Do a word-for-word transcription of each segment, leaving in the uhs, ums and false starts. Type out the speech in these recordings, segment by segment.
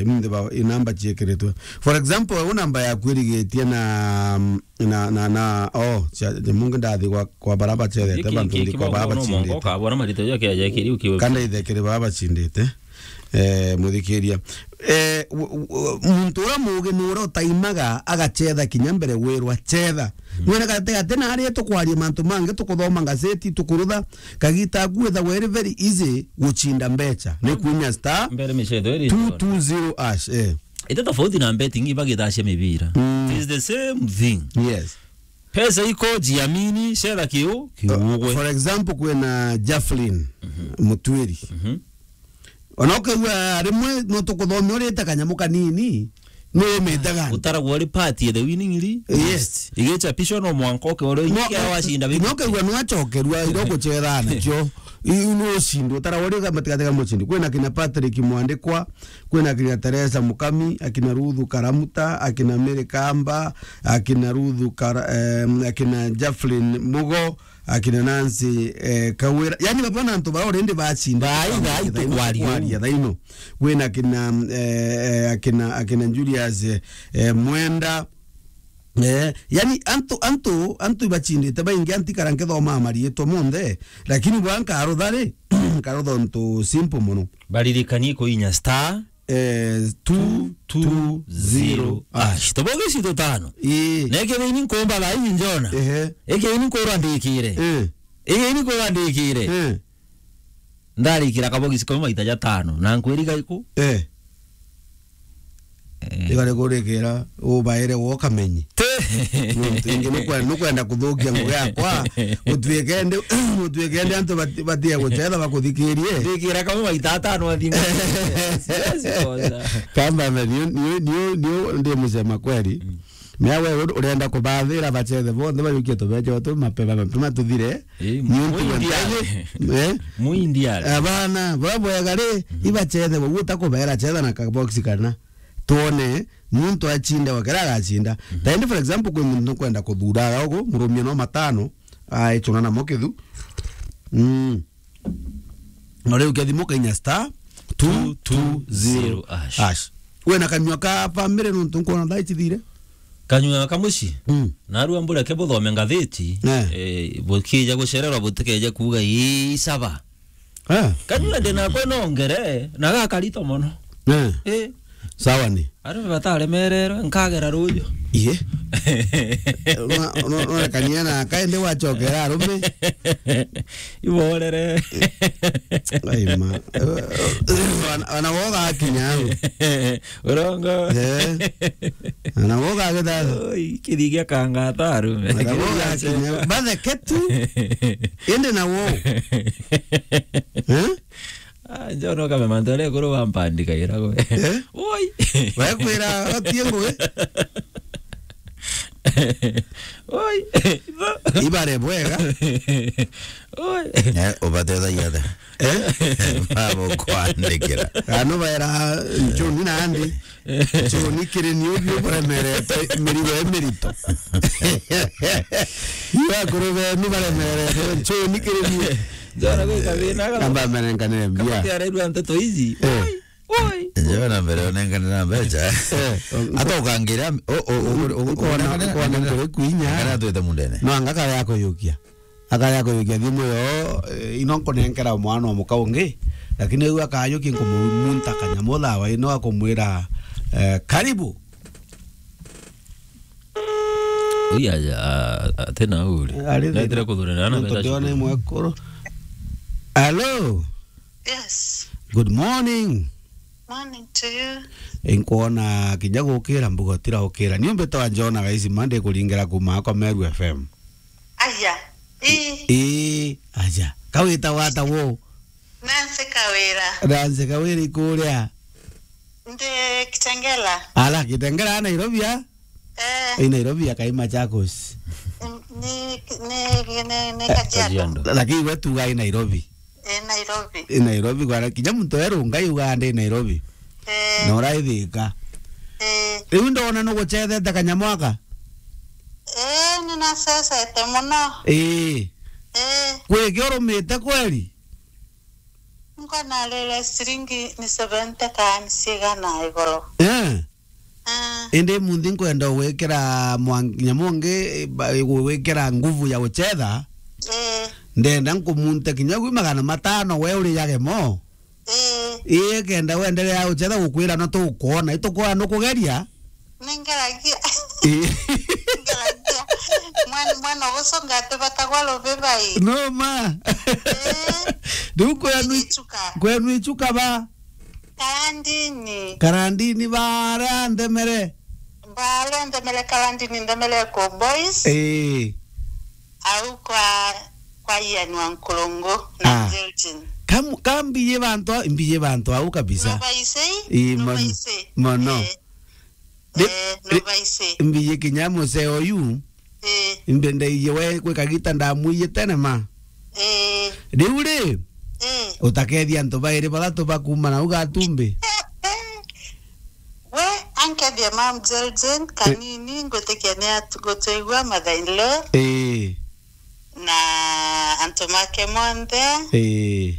Imunthi ba, i namba ciekiritwe. For example, u namba yaku irigitie na, na, na, na, oh, cia, cia mungi ndathi kwa, kwa bara bacethete, bantu nthi kwa bara bacindite. Kanda ithekere bara bacindite. Eh, muthikiria. Eh, w-, w-, muntu uria mugi ni uria utaimaga agacetha kinya mbere wirwa cetha. Mwene gati gati na aria tukwaria mantu mangi, tukuthoma ngazeti, tukurutha, kagita aku withagwa iri very easy gucinda mbecha. Ni kuinya star mbere micetho iri two two zero hash, eh. Ite tofauti na betting ibagithacia mibira. Mm. It is the same thing. Yes. Pesa iko, jiamini, cetha kiu, kiugwe. For example, kwina Jaflin Mutwiri. Ona ukaigua rimwe no tukuthomia urite kanyamu kanini, ni umite gani? Utaragwa uri part ya the winning li-, yes, list. Igichapishwa no mwanka uke ore no, ikia wacinda bingi. No ukaigua no acokerua iro gucetha nakio. Iu ni ucindi, utaragwa uri gatagatĩ ga mucindi. Kwina kina Patrick Mwandikwa, kwina kina Teresa Mukami, akina Ruthu Karamuta, akina Mary Kamba, akina Ruthu Kara-, em, akina Jaflin Mugo, akina Nancy, eh, Kawira. Yani, baba na antu bara already bacinda. Bai, bai, tukwaria. Tukwaria thaino. Kwina akina, eh, eh, akina, akina Julius, eh, eh, Mwenda. Eh, yani, antu, antu, antu ibacindite baingi, antikara nkithoma mariitwa monthe, lakini bwa nkarutha ri, nkarutha untu simple mono. Baririkanie kuinya star eh, two two zero hash. Tuboge cito tano. Ii. Na ikethira ini nkumba thaa iji njona. Ehe. Ikethira ini nkurwa ndikire. Eh. Ikethira ini nkurwa ndikire. Eh. Ndarikira kabogisi kamwe maita jatano. Na nkwiriga iku? Eh. Eh. Igare kurikira, ubaire wo kamenyi. Te. Nontu ingi nukwe-, nukwenda kuthukia ngugi yakwa, gutuike ndi, gutuike ndi antu bati-, batie gucetha bakuthikirie. Ndikira kamwe maita atano athinga. Siwezi kosa. Kamba me, niu, niu, niu, niu ndi mucema kweli. Mm. Mea we ur-, urenda kubathira bacethe bonthe bajukie tubeche tu mapema, mapema tuthire. Eh, niu ntigwe muindia. Ntege, eh? Muindia. Abana, bwa bwega ri, ibacethe, we utakubera cetha na kabox kana. Twone muntu acinda wakira agacinda. Mhm. Taindi, for example, kwi muntu nukwenda kuthura aga ugu, murumia no matano, aichuna namo kithu. Mm. Na riu kethimo kainya star two two zero hash. Wena kanyua ka family nuntu nkwona thaa ici thire? Kanyua ka muci? Mm. Narua mbure ke buthome ngathiti, eh, bukija gucererwa butikeje kuuga ii saba. Eh. Kanyua ndi nakwe nongere, na gakarito mono. Eh. Eh. Sawa ni. Arume bataremererwe, nkagera ruju. Iye. Una, una, una kania na kaende wachokera arume. Iborere. Ai ma. Ana, ana woga akinya au. Urongo. Eh. Ana woga agitha. Oi, kirigia kangata arume. Ana woga akinya. Batheke tu. Indi na wo. Eh? Ah, njo no kame mantu aria ekuru bampandikagira gwe. Eh? Woi. Bakwira otie ngugi. Woi. Ibare bwega. Woi. Eh, ubatethagia atia? Eh? Babo kwandikira. Ano baera nchuni nandi. Nchuni kiri ni ubi uremerete, mirigo e mirito. Iwe akuru benu baremerete, nchuni kiri ni. Njona gwi kathina kama. Kamba merenkanire mbia. Kama tiarairwa nteto ici. Eh. Oi, oi. Njona mbere onenkanire na mbecha. Eh. Ata ukangira, o, o, o, o, o, ukona, ukona kuri kwinya. Kana twite mundene. No anga kare akuyukia. Akaja kuyukia thimu yo, eh, ino nkunenkera mwana o muka ungi, lakini riu akayukia nkumumunta kanyamu thawa ino akumwira, eh, "Karibu." Ui aja, a-, a-, atina uri. Ari thina. Netire kuthurana na nontu mbeca ndiona cukuru. Imwe ekuru. Hello. Yes. Good morning. Morning to you. Inkwona kinya gukira mbuga utira ukira. Ni umbite wa Jona gaisi mande kuringira kuma kwa Meru F M. Aja. Ii. Ii, aja. Kawita wata wo? Nancy Kawira. Nancy Kawira ikuria? Ndi Kitengela. Ala, Kitengela a Nairobi a? Eh. I Nairobi ya kai Machakos. Ni, ni, ni, ni Kajiado. Kajiado. Lakini we tuga i Nairobi. I Nairobi. I Nairobi, kwa kinya muntu erunga yuga ndi Nairobi. Eh. Na uraithika. Eh. Riu ndona nugucethete kanyamwaka? Eh, ninacecete muno. Eh. Eh. Kwiki urumite kweli? Kwa narere ciringi ni seventy kana ciigana igoro. Eh. Ah. Indi munthi nkwenda gwikira mwa-, nyamu ungi, ba-, gwikira nguvu ya guchetha. Eh. Ndenda nkumunte kinya gwi magana matano we uriage mo. Eh. Ii, kenda wenderea guchetha gukwira no tukwona, itukwona nukugeria. Ningeragia. Ii. Ningeragia. Mwana, mwana ugucunga ati batagwa rubiba ii. No ma. Eh. Riu kwenu, Ichuka. Kwenu Ichuka ba? Karandini. Karandini baria nthemere. Baria nthemere Karandini, nthemere ku boys. Ii. Au kwa, kwa Ian wa Nkurungu na Ah. Virgin. Kam-, ka mbiye bantu, mbiye bantu au kabisa. Nubaise? Ii, mon-, Nubaise? Mono. Eh. Ri-, Eh, ri-, Nubaise. Mbiye kinya museo yu. Eh. Imbe ndaiye we kwi kagita ndamwiye tene ma. Eh. Riu ri, Eh. utakethia antu bairi bathatu bakuma na ugatumbi. We, ankethia mam Zelzen, kanini, ngwitikia ni atu-, gutwigua mother in law. Eh. Na antu make monthe. Eh.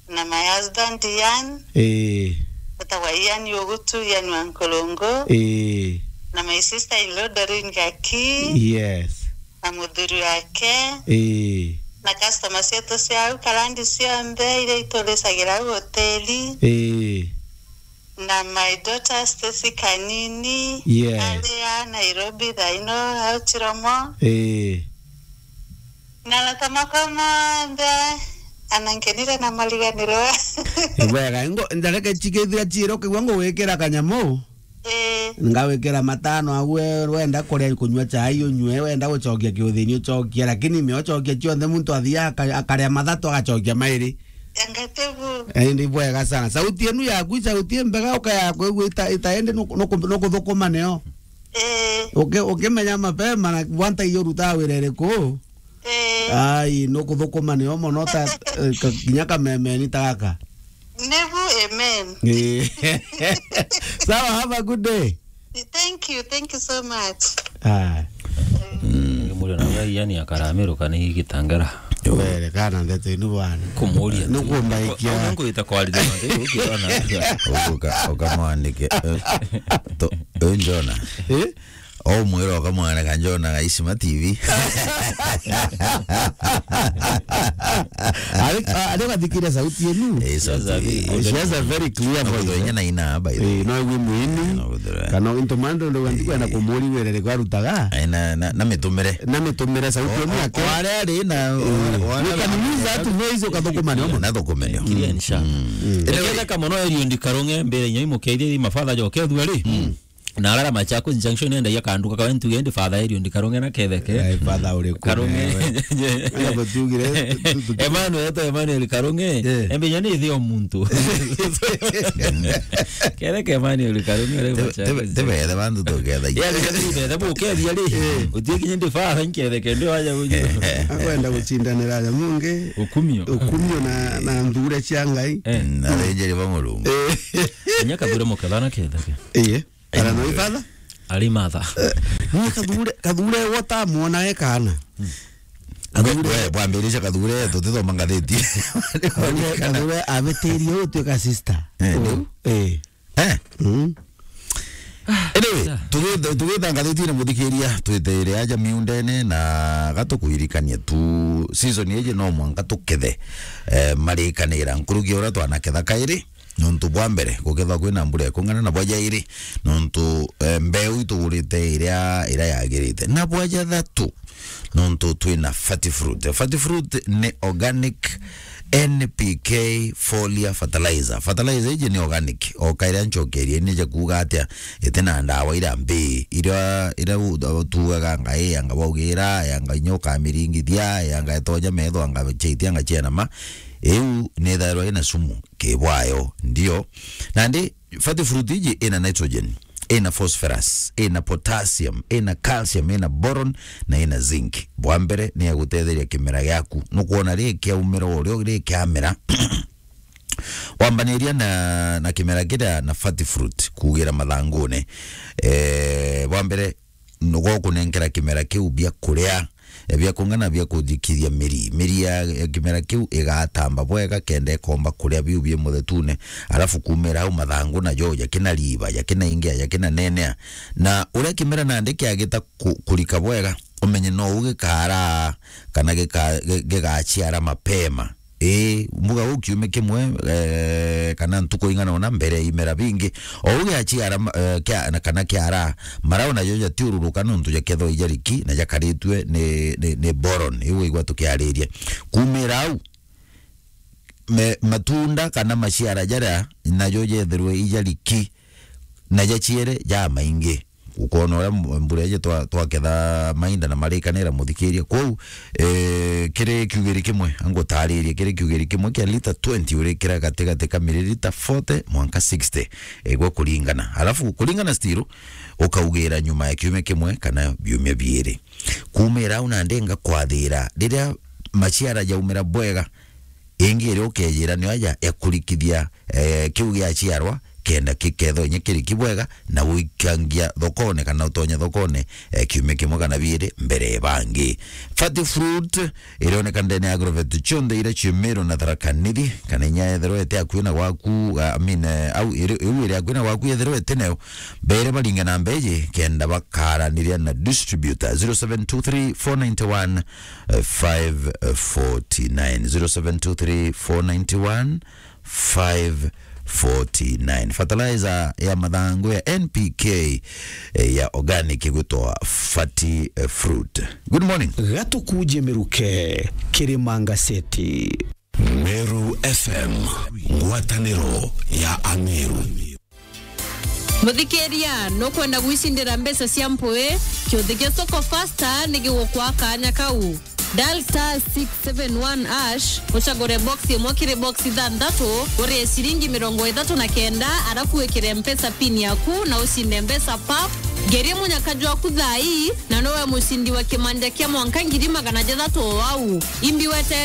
Na my husband Ian. Eh. Etagwa Ian Ugutu, Ian wa Nkurungu. Eh. Na my sister in law Doreen Gaki. Yes. Na muthuri wake. Eh. Na customer cietu cia au Karandi cionthe iria ituricagira au hoteli. Eh. Na my daughter Stacy Kanini, Yes. aria Nairobi thaino au Chiromo. Eh. Na arata makwa monthe, anankenire na mariganirwa. Ni bwega, ngo, ndareke chikethira chiro kigwa ngugwikira kanyamu. Eh. Ngawikira matano au, we wenda kuria kunywa chai unywe, wenda gucokia kiuthini ucokia, lakini me ucokia cionthe muntu athia aka-, akaria mathatu agacokia mairi. Angatebu. Eh, ni bwega sana. Sauti enu yaku, sauti mbega uka yaku, igwita ita ende nuku-, nuku-, nukuthukuma nio. Eh. Uki-, ukimenya mapema na wanta iyo ruta wira iriku. Eh. Ai, nukuthukuma nio mono ta, eh, ka-, kinya kamemeni ta gaka. Nebu, amen. Eh. Sawa, have a good day. Thank you, thank you so much. Ah. Mm. Muri na gai yani akaramiruka ni gitangara. Were kana ndeto inu bwana. Kumuria. Nukumbaikia. Ona nkuita kwarira na ndeto ukirona. Uka, ukamwandike. Eh, to, eh, Njona. Eh? O mwira ukamwandika Njona ga Isima T V. Ari, ari gathikire sauti enu. Eh, sauti. She has a very, she has a very clear voice, eh. Na ina, by the way. Eh, no igwe mwini. No, kana into mando ndo wandikwenda kumuri were kwa rutaga. Eh, na, na, na mitumire. Na mitumire sauti enu yake. O, o aria ari na, eh, o, o aria we can use that voice ukathukuma nio. Na thukume nio. Kirian sha. Mm. Eketheka mono Eliud Karunge mbere inya imukethie mabatha joke thua ri. Mm. Na arara Machakos Junction endagia kanduka kawe ntuge ndi father Eliud Karunge na ketheke. Eh, father uriku Karunge. Wewe. Aya batugire, tu-, tu-, tu-, Emmanuel, eto Emmanuel Karunge. Eh. Embe inya ni thio muntu. Ketheke Emmanuel Karunge, ore Te-, Machakos. Te-, tebethe bantu tugethagia. Ya, tebethe bukethia ri. Eh. Utie kinya ndi father nketheke, ndi waja uju. Akwenda gucindanira aja mungi. Ukumio. Ukumio na, na nthure cia Ngai. Eh. Na thenjeri ba Murungu. Eh. Inya kathure mukethana ketheke. Iye. Kana no ibatha? Ari matha. Eh, ni kathure, kathure wota muona e kana. Kathure. We, we, bwambiriria kathure, tutithoma ngathiti. Kathure, kathure abitirie utuika sister. Eh, riu. Eh. Eh. Mm. Anyway, tugitha, tugitha ngathiti na muthikiria, twitire aja miundene na gatukuririkania tu season iji no mwanka tukethe, eh, marikanira nkuruki uria twanaketha kairi. Nontu bwa mbere, gukethwa kwina mbura ikung'ana, na bwa jairi, nontu, eh, mbeu itugurite iria, iria yagirite, na bwa jathatu, nontu twina Fati Fruit. Fati Fruit ni organic N P K foliar fertilizer. Fertilizer iji ni organic, o kaira ncokerie ni ja kuuga atia, itina ndawa iria mbii, iria, iria u-, tuugaga anga ii, anga baugira, anga inya ukamiringithia, anga itonya metho, anga chaitia, anga cienama. Iu ni ithairwa ina sumu. Kibwayo, ndio. Nandi, Fati Fruit iji ina nitrogen, ina phosphorus, ina potassium, ina calcium, ina boron, na ina zinc. Bwa mbere, ni ya gutetheria kimera giaku. Nukwona ri kiaumira urio ri kiamera, wambaniria na, na kimera kiria na Fati Fruit kuugira mathangune. Eh, bwa mbere, nugo kunenkera kimera kiu bia kuria, eh, bia kung'ana bia kujikithia miri. Miri ya, ya kimera kiu igatamba bwega kenda ikomba kuria biu bi muthetune. Alafu kumira au mathangu najo jakina riba, jakina ingia, jakina nenea. Na uria kimera nandi kiagita ku-, kurika bwega, umenye no ugikara kana gika-, gi-, gigaciara mapema. Ii, mbuga uu kiumia kimwe, eh, kana ntuku ing'ana ona mbere ya imera bingi. O uu giaciara, eh, kia-, na kana kiara, marau najo jatiururuka nontu jakethwa ijariki na jakaritue ni, ni, ni boron. Iu igwa tukiariria. Kumira au, me-, matunda kana maciara jaria najo jetherwe ijariki na jaciere ja maingi. Ukona uria mb-, mbura iji twa-, twaketha mainda na marikanira muthikiria. Kwou, eh, kiri kiugiri kimwe, angutaririe, kiri kiugiri kimwe kia lita twenty urikira gatigati ka miririta forty mwanka sixty, igwe kuringana. Alafu kuringana still, ukaugira nyuma ya kiumia kimwe kana biumia biiri. Kumira au nandi ngakwathira, riria maciara jaumira bwega, ingi iria ukejira nio aja ya kurikithia, eh, kiu giaciarwa, kenda kikethwa inya kiriki bwega, na guikangia thokone kana utonye thokone, eh, kiumia kimwe kana biiri mbere ya bangi. Fati Fruit irioneka ndene ya agrovet cionthe iria cie Meru na Tharaka Nithi, kana inya yethirwa ite akui na gwaku, ah, I mean, eh, au iri-, iu iri akui na gwaku yethirwa ite nayo, bere baringe na mbeji kenda bakaraniria na distributor. Zero seven two three four nine one five forty nine, zero seven two three four nine one five forty nine. Fertilizer ya mathangu ya N P K, eh, ya organic igwitwa Fati, eh, Fruit. Good morning. Gatukuje miruke, Kirimanga City. Meru F M, ngwataniro ya Ameru. Muthikiria, nukwenda gwicindira mbeca cia mpui? Kiuthi gia Soko Fasta ni gigukwa kanya kau. Dial star six seven one hash, ucagure box imwe kiri box ithanthatu, urie ciringi mirongo ithatu na kenda, arafu wikire Mpesa pin yaku na ucinde mbeca pap. Ngerie munyaka jwaku thaa ii, na nowe mucindi wa kimanja kia mwanka ngiri magana jathatu o au. Imbi wete